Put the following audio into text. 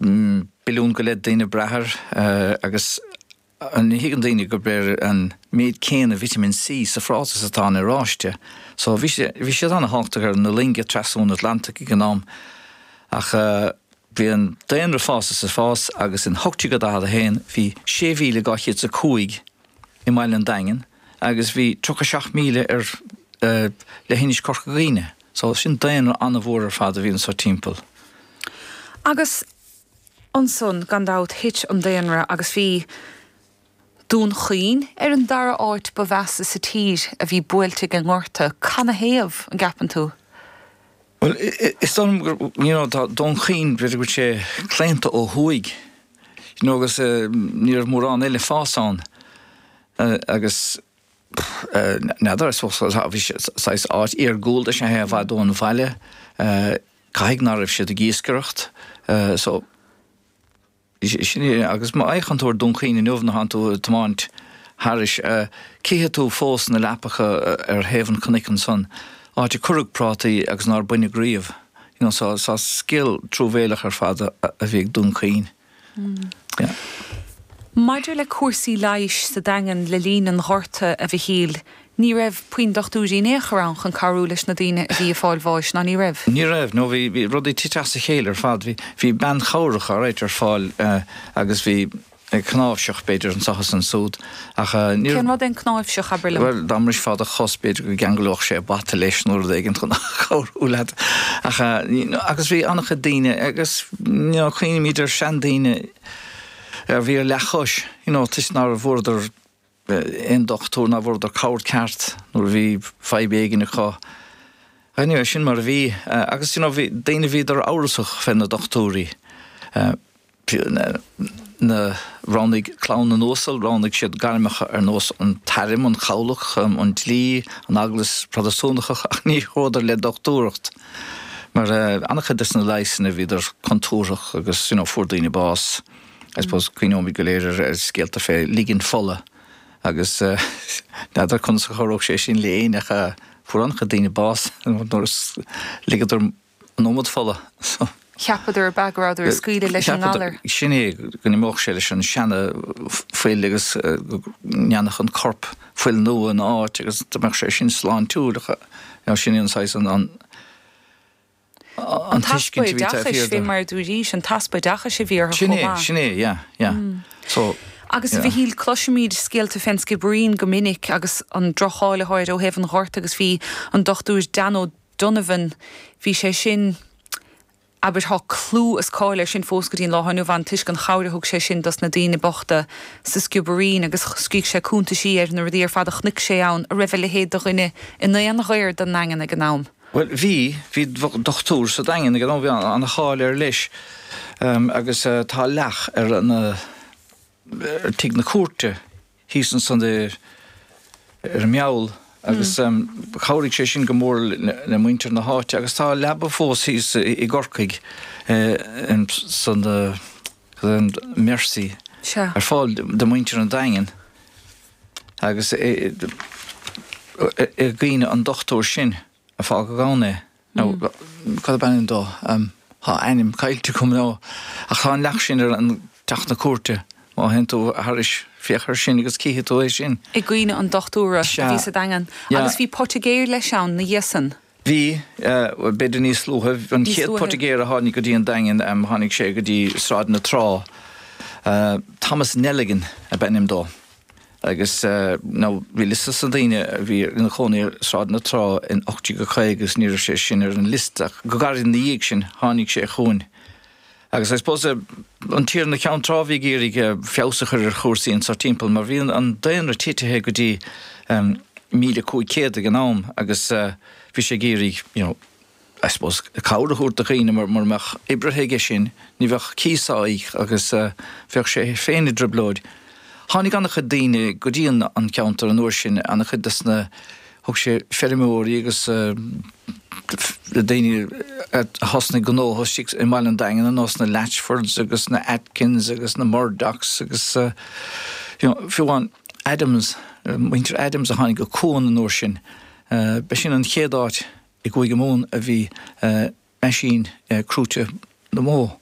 Billiún go leith daoine ag brath air agus ní thuigeann daoine go b'fhéidir an méid céanna Vitamin C sa phráta is atá in oráiste. So bhí sé, bhí siad ana-thábhachtach ar na loinge trasna an Atlantaigh ag an am. Ach bhí an daonra ag fás is ag fás agus in 1841 bhí 6,205 i mbaile an Daingin agus bhí 37,000 ar leithinis Chorca Dhuibhne. So sin daonra an-mhór ar fad a bhí anso timpeall. Agus ansan, gan dabht, thit an daonra agus bhí Dún Chaoin ar an dara áit ba mheasa sa tír a bhí buailte ag an ngorta. Canathaobh, an gceapann tú? Bhuel, is dóigh liom gur, you know, tá Dún Chaoin, b'fhéidir go bhfuil sé claonta ó thuaidh, you know, agus ní raibh mórán eile ag fás ann agus n'fheadar, I suppose, bhí sé saghas áit iargúlta is ea é i bhfad ón bhaile, caithfidh ná raibh siad ag iascaireacht, so. Sin é, agus má fhéachann tú ar Dún Chaoin inniu nuair atánn tú ag tiomáint thairis, cífidh tú fós na leapacha ar thaobh an chnoic ansan, áit a cuireadh prátaí agus nár baineadh riamh. You know, so, so scéal truamhéileach ar fad a bhí ag Dún Chaoin. Yeah. Maidir le cúrsaí leighis sa Daingean le linn an Ghorta, a Mhichíl, Ní raibh puinn dochtúirí in aon chor ann chun cabhrú leis na daoine a bhí ag fáil bháis, ná ní raibh? Ní raibh, no bhí, bhí rudaí tite as a chéile ar fad. Bhí, bhí bean chabhrach alright ar fáil agus bhí cnáimhseach b'fhéidir anso is ansúd ach ní raibh. Cén rud é an cnáimhseach, abair liom? Bhuel, dá mbrisfeá do chos b'fhéidir go gceanglódh sé bata leis nó rud éigin chun cabhrú leat ach agus bhí an-chuid daoine agus you know cuimhnímid ar seandaoine a bhí ar leathchois you know toisc nár bhfuaireadar aon dochtúir ná bhfuaireadar cabhair ceart nuair a bhí fadhb éigin acu. Anyway, sin mar a bhí. Agus you know bhí daoine bhíodar amhrasach fé na dochtúirí. Na roghnaigh clann na n-uasal, roghnaigh siad gairmeacha ar nós an t-airm, an chabhlach, an dlí, an eaglais Protastúnach ach ní chuadar le dochtúireacht. Mar an-chuid des na leigheasanna bhíodar contúirteach agus you know fuair daoine bás. I suppose cuimhneoimid go léir ar scéalta fé ligean fola agus n'fheadar conas a chabhródh sé sin le éinne ach fuair an-chuid daoine bás nuair a ligeadar an iomad fola. Cheapadar ab ea go rabhadar ag scaoileadh leis an ngalar. Sin é, go n-imeodh sé leis an seana fuil agus go ndéanfadh an corp fuil nua ina áit agus go mbeadh sé sin sláintiúil ach sin é an saghas an An t-easpa oideachais, fé mar a dúraís, an t-easpa oideachais a bhí orthu chomh maith. Sin é, sin é, yeah, yeah. So, Agus a Mhichíl, cloisimid scéalta fén Sciobairín go minic agus an droch-cháil atá air ó thaobh an Ghorta agus bhí an Dochtúir Dan O'Donovan, bhí sé sin, abair, tá clú is cáil air sin fós go dtí an lá inniu ann toisc an chabhair a thug sé sin dos na daoine bochta sa Sciobairín agus scrígh sé cuntaisí ar na rudaí ar fad a chonaic sé ann, an raibh a leithéid de dhuine in aon ghair don nDaingean ag an am. Bhuel, bhí, bhí dochtúir sa Daingean ag an am, bhí an-cháil air leis agus tá leac ar an, ar tigh na cúirte thíos ansan ar an Meall agus chabhraigh sé sin go mór le muintir na háite agus tá leaba fós thíos i gCorcaigh san Mercy ar fáil do mhuintir an Daingin agus i gcuimhne an dochtúir sin a fágadh ann é. Nó cad ab ainm dó? Tá a ainm caillte agam now. Ach tá an leac sin ar an teach na cúirte. Má théann tú thairis, féach air sin agus cífidh tú é sin. I gcuimhne an dochtúra a bhí sa Daingean. Agus bhí poitigéir leis ann 'na dhiaidh san. Bhí, b'fhéidir níos luaithe. An chéad poitigéir a tháinig go dtí an Daingean, tháinig sé go dtí Sráid na Trá. Thomas Nelligan ab ainm dó. Agus now bhí liosta de na daoine a bhí ina chónaí ar Sráid na Trá in 1850 agus ní raibh sé sin ar an liosta ach go gairid ina dhiaidh sin tháinig sé chugainn. Agus I suppose an Tiarna Cheann Trá a bhí ag iarraidh feabhas a chur ar chúrsaí anso timpeall mar bhí an daonra titithe go dtí 1,500 ag an am agus bhí sé ag iarraidh you know I suppose cabhair a thabhairt do dhaoine mar mura mbeadh oibrithe aige sin ní bheadh cíos á íoc agus bheadh sé féin i dtrioblóid. Tháinig an-chuid daoine go dtí an ceantar an uair sin, an-chuid des na, thug sé feirmeoirí agus daoine a thosnaigh gnótha istigh i mbaile an Daingin ar nós na Latchfords agus na Atkins agus na Murdochs agus you know fiú amháin Adams, muintir Adams a tháinig go Cuan an uair sin. B'shin an chéad áit i gCúige Mumhan a bhí meaisín crúite na mbó.